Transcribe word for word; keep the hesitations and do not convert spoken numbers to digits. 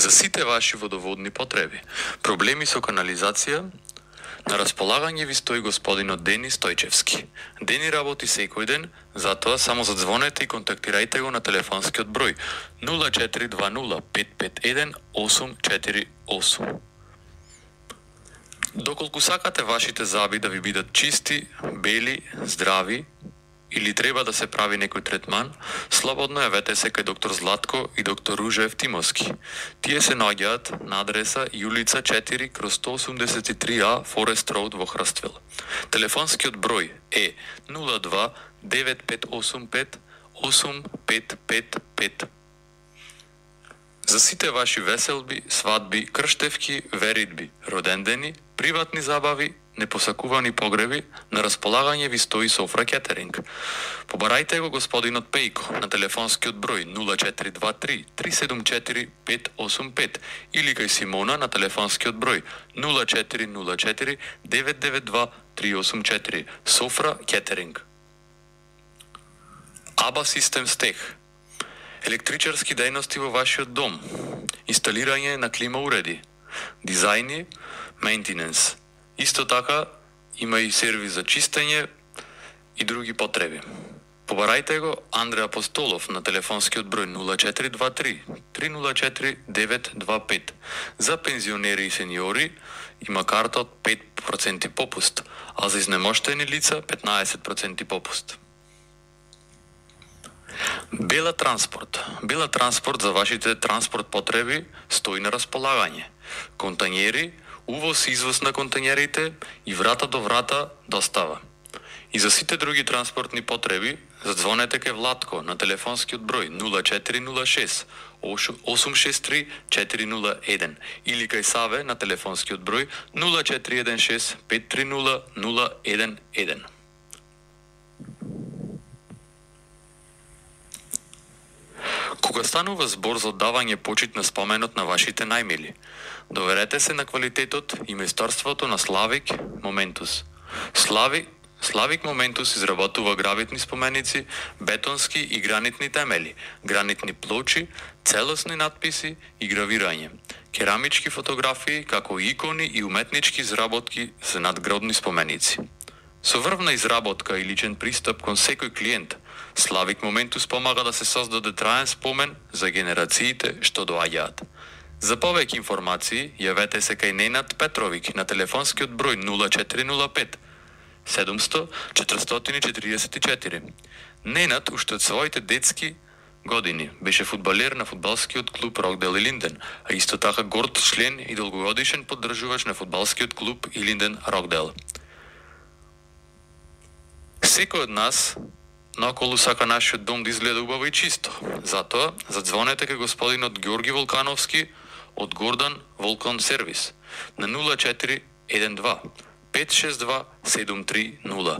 За сите ваши водоводни потреби, проблеми со канализација, на располагање ви стои господинот Дени Стојчевски. Дени работи секој ден, затоа само задзвонете и контактирајте го на телефонскиот број нула четири два нула пет пет еден осум четири осум. Доколку сакате вашите заби да ви бидат чисти, бели, здрави, или треба да се прави некој третман, слободно јавете се кај доктор Златко и доктор Ружа Евтимовски. Тие се наоѓаат на адреса Јулица четири кроз сто осумдесет и три А Форест Роуд во Хрствел. Телефонскиот број е нула два девет пет осум пет осум пет пет пет. За сите ваши веселби, свадби, крштевки, веридби, родендени, приватни забави, непосакувани погреби, на располагање ви стои Софра Кетеринг. Побарајте го господинот Пејко на телефонскиот број нула четири два три три седум четири пет осум пет или кај Симона на телефонскиот број нула четири нула четири девет девет два три осум четири. Софра Кетеринг. Аба Систем Стех. Електричарски дејности во вашиот дом, инсталирање на клима уреди, дизајни, мејнтененс. Исто така има и сервис за чистење и други потреби. Побарајте го Андре Апостолов на телефонскиот број нула четири два три три нула четири девет два пет. За пензионери и сениори има карта од пет проценти попуст, а за изнемоштени лица петнаесет проценти попуст. Бела Транспорт. Бела Транспорт за вашите транспорт потреби стои на располагање. Контањери, увоз и извоз на контањерите и врата до врата достава. И за сите други транспортни потреби, задзвонете кај Владко на телефонскиот број нула четири нула шест осум шест три четири нула еден или кај Саве на телефонскиот број нула четири еден шест пет три нула нула еден еден. Кога станува збор за оддавање почит на споменот на вашите најмили, доверете се на квалитетот и месторството на Славик Моментус. Слави, Славик Моментус изработува гравитни споменици, бетонски и гранитни темели, гранитни плочи, целосни надписи и гравирање, керамички фотографии, како и икони и уметнички изработки за надгробни споменици. Со врвна изработка и личен пристап кон секој клиент, Славик Моментус помага да се создаде траен спомен за генерациите што доаѓаат. За повеќе информации, јавете се кај Ненад Петровик на телефонскиот број нула четири нула пет седумсто четиристотини четиридесет и четири. Ненад уште од своите детски години беше фудбалер на фудбалскиот клуб Рокдел Илинден, а исто така горд член и долгогодишен поддржувач на фудбалскиот клуб Илинден Рокдел. Секој од нас наоколу сака нашиот дом да изгледа убаво и чисто. Затоа, задзвонете кај господинот Ѓорги Волкановски од Гордан Волкан Сервис на нула четири еден два пет шест два седум три нула.